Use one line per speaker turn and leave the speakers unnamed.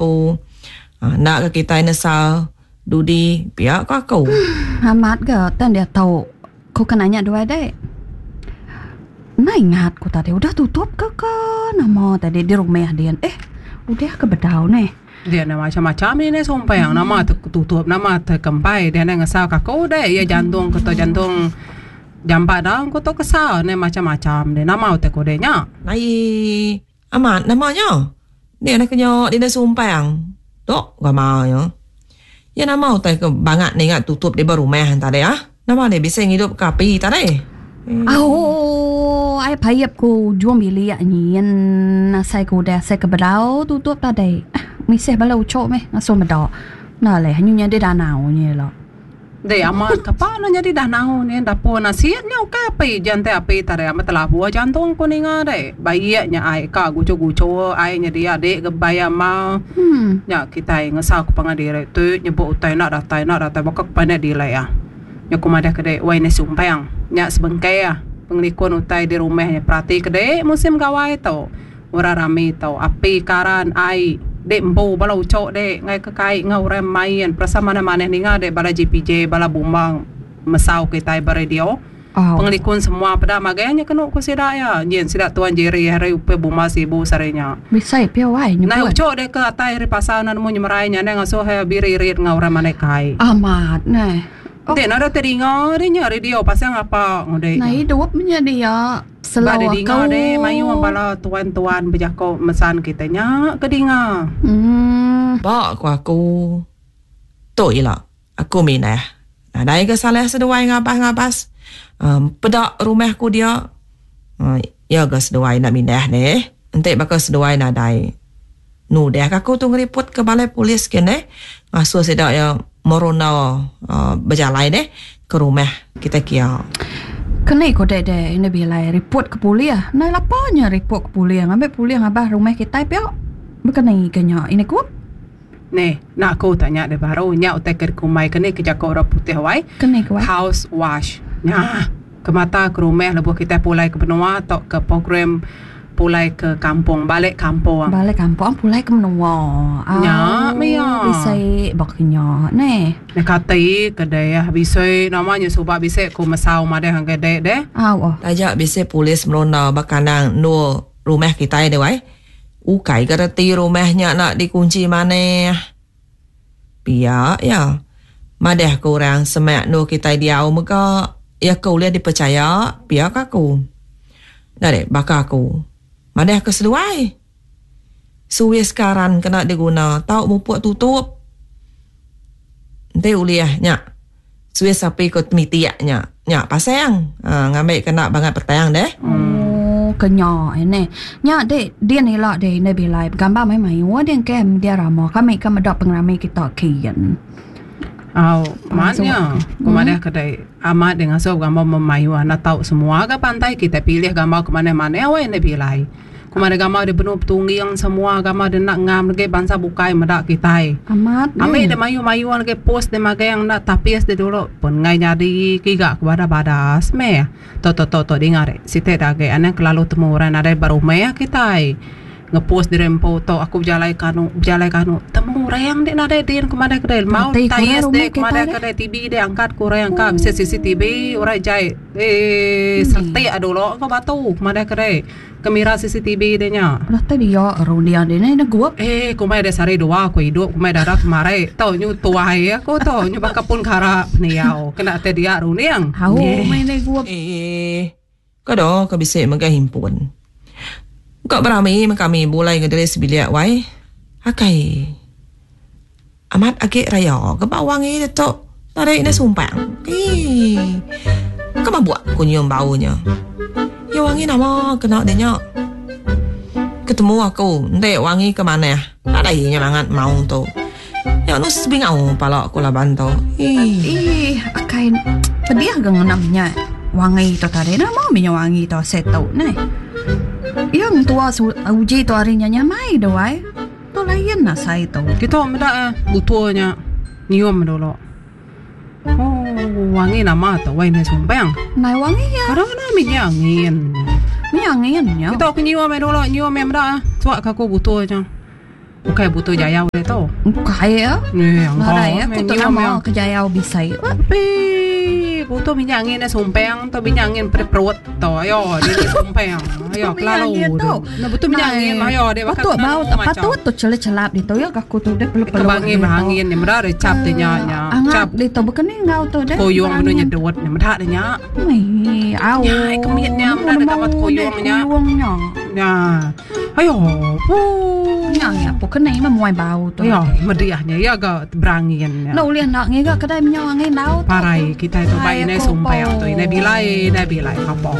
empu. Enda ga kitai nesal dudi pia ko aku.
Amat ga tang diatu ku ke nanya duai dek. Enda ingat ku tadi udah tutup ke ka nama tadi di rumah din eh udah ke bedau neh.
Dia enda macam-macam ini sumpang nama te tutup nama te kempai dia enda ngesal ka aku deh iya jantung ke tu jantung jampat da ku tu kesal enda macam-macam deh nama utai ku deh nya.
Aii amat nama nya dia enda kenya dia enda sumpang tu gamal nya. Iya nama utai ke bangat ninga tutup di ba rumah tadi ah. Nama deh bisi ngidup ke api tadi.
Au ai paip ku ujung bilik nyin asai ku udah asai ke bedau tutup tadi. Misih bala uchu meh ngasuh meda. Enda leh nyu nyadi danau nyi ila.
Deh amat kapa ne nyadi danau nyin dapur nasit nya ukai api jan ti api tadi amat telabuh jantung ku ninga deh. Baik nya ai ka guchur-guchur ai nya dia dik ke bai amal. Nya kitai ngesal ke pangan diri tu nyebut utai enda datai enda datai baka ke pandai delay ah. Nya ku madah ke dek wai neh sumpang nya sebengkah ah pengelikun utai di rumah nya perati ke dek musim gawai tu orang rami tu api karan ai dek empu bala uchok dek ngagai ke kai enggau orang main perasa manah manah ninga dek bala JPJ bala bomba mesau kitai ba radio. Pengelikun semua peda magang nya kenu ku sida iya. Nyin sida Tuan Jerry hari upih buma sibu sehari nya.
Bisai pia wai nyebut.
Nai uchu deh ke atai ari pasar enda nemu nyemerai nya ndai ngasuh iya biririt enggau orang mandai kai.
Amat neh.
Enti enda deh tedinga deh nya radio pasal ngapa ngudi
nya. Nai idup nya dia
Ba
selo
deh dinga
aku.
deh mayuh bala tuan-tuan bejako mesan kitai nya ke dinga.
Uhh.
Ba ku aku tu ila. Aku minah. Nadai ga salah seduai ngabas-ngabas peda rumah ku dia. Iya ga seduai enda mindah neh. Enti baka seduai nadai nudah ka aku tu ngeriput ke balai polis ke neh. Ngasuh sida iya meronda bejalai neh ke rumah kita kia.
Keni ku dek deh enda bilai riput ke pulih. Ndai lapa nya riput ke pulih ngambi pulih ngabas rumah kitai pia. Bekeni ke nya ini ku.
Neh, enda aku tanya deh baru nya utai ke dikumbai ke ni ke jaku orang putih wai.
Ke ni ku wai?
House wash. Nya ke mata ke rumah lebuh kitai pulai ke menua tauka program pulai ke kampung, balik kampung.
Balik kampung pulai ke menua.
Nya meh iya.
Bisi baka nya neh.
Neh kati ke deh bisi nama nya suba bisi ku mesau madah ngagai dek deh.
Au.
Taja bisi polis meronda ba kandang endur rumah kitai deh wai. Ukai ga reti rumah nya enda dikunchi manah. Pia iya. Madah ke orang semak endur kitai diau mega iya ke ulih dipechaya pia ka aku. Enda deh baka aku. Madah ke seduai. Suis karan kena diguna tau mupuk tutup. Enti ulih nya suis api ke temitik nya. Nya pasang ngambi ke enda bangat petang deh.
Oh ke nya neh. Nya dek din ila deh indai bilai begambar mai mayuh deh engke media rama kami ke meda pengerami kita kin.
Au amat nya ku madah ke dek amat deh ngasuh begambar memayuh enda tau semua ga pantai kitai pilih gambar ke manah manah weh indai bilai. Ku madah gambar deh benung betungging semua gambar deh enda ngam legi bansa bukai meda kitai.
Amat
neh. Ambi deh mayuh mayuh legi post deh magang enda tapis deh dulu pun enggai nyadi kiga ke badas badas meh. Tok tok tok tok dinga deh siti da agi anang kelalu temu orang nadai ba rumah kitai. Ngepost diri empu tok aku bejalai kanu bejalai kanu temu orang deh nadai din ku madah kedai mau
Reti ku orang
tayis
rumah
deh ku
kitai
madah
deh.
kedai TV deh angkat ku orang ka bisi CCTV orang jai eee seretik dulu ko batu ku madah kedai. Kamera CCTV deh nya.
Datai dia runding dia ne negup.
Eh kumbai deh sehari dua aku idup kumbai dara kemari tu nyu tuai aku tu nyu baka pun kara pendiau kena tai dia runding.
Au meh negup.
Eh ka do ka bisi megai himpun. Ka berami meh kami bulai ngediri sebilik wai. Akai. Amat agi raya ke ba wangi ditu tadi enda sumpang. Eii. Ka mabuk ku nyium bau nya. Iya wangi nama kena deh nya. Ketemu aku enti wangi ke manah nadai nya bangat maung tu. Nya anu sebingau pala ku laban tu.
Eii. Ih akai pedih ga ngena minyak wangi tu tadi nama minyak wangi tu asai tu neh. Iya entua uji tu hari nya nyamai deh wai. Tu lain asai tu.
Kitu meda eh butul nya nyium dulu. Oh wangi nama tu wai ndai sumpang.
Ndai wangi iya.
Kada kena minyak angin.
Minyak angin nya.
Kitu aku nyium eh dulu nyium eh meda eh suak ka aku butul nya. Ukai butuh jayau dia tu.
Ukai ya.
Ni angka.
Nadai aku tu nama ke jayau bisai.
Pi butuh minyak angin sumpeng tu minyak angin perut tu. Ayo dia ni sumpeng. Ayo kelalu. Nah butuh minyak angin ayo dia
bakal patut bau tak patut tu celap-celap di tu ya aku tu dia
perlu-perlu. Kebangi berangin ni meda dia cap dia nya nya.
Cap di tu bukan ni ngau tu
dia. Koyong benu nyedut ni meda dia nya.
Mei au.
Nya kemit nya meda dia kamat koyong nya.
Koyong nya.
Nya. Ayo, pu.
Nya nya pu kena ima muai bau tu.
Ayo, mediah nya ya ga berangin nya.
Enda ulih enda ngiga kedai minyak angin dau
tu. Parai kitai tu bai indai sumpang tu indai bilai indai bilai kapo.